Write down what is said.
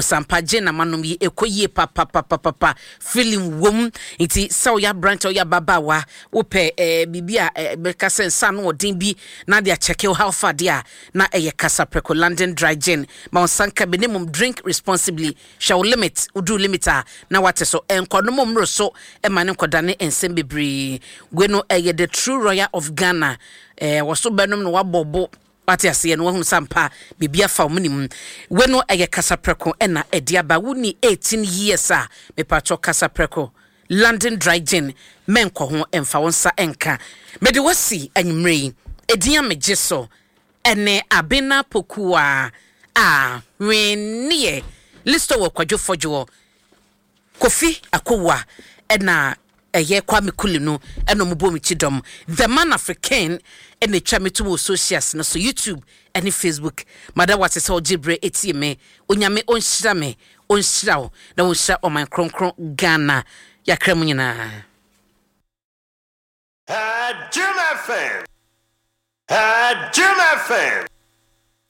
Sampa gye na manom yi ɛkɔ yie papapapapa, feeling wom. Nti sɛ woyɛ aberante, woyɛ ababaawa, wopɛ biribi a bɛka sɛ nsa ano ɔden bi na de akyɛke wo how far deɛ a, na ɛyɛ Kasaprɛko London Dry Gin. Ma wo nsa nka bi, ne mmom drink responsibly. Hwɛ wo limit, woduru limit a na wate so. Nkɔnom mmoro so ma ne nkɔdane nsɛm bebree. Wei no ɛyɛ the true royal of Ghana. Wɔso bɛnom na wabɔ bo. Wate aseɛ no, wahunu sɛ ampa biribi afa wo mene mu. Wei no ɛyɛ kasaprɛko ɛna ɛde aba. Wonni 18 years a, mepakyɛw kasaprɛko, London Dry Gin, mɛnkɔ ho, ɛmfa wo nsa ɛnka. Mede wo asi anwummerɛ yi, edin a megye so ɛne Abena Pokuaa a hwenneɛ Listowel Kwadwo Fɔdwoɔ. Kofi Akowua na ɛyɛ Kwame Kuli no na ɔmo bɔ me ti dɔm. The Man Africain na etwa me to wɔ socials no so, YouTube ne Facebook. Mada wo ase sɛ ɔgye berɛ etie me. Onyame ɔnhyira me, ɔnhyira wo na ɔnhyira ɔman kronkron Ghana. Yɛakra mu nyinaa. Jim FM. Jim FM.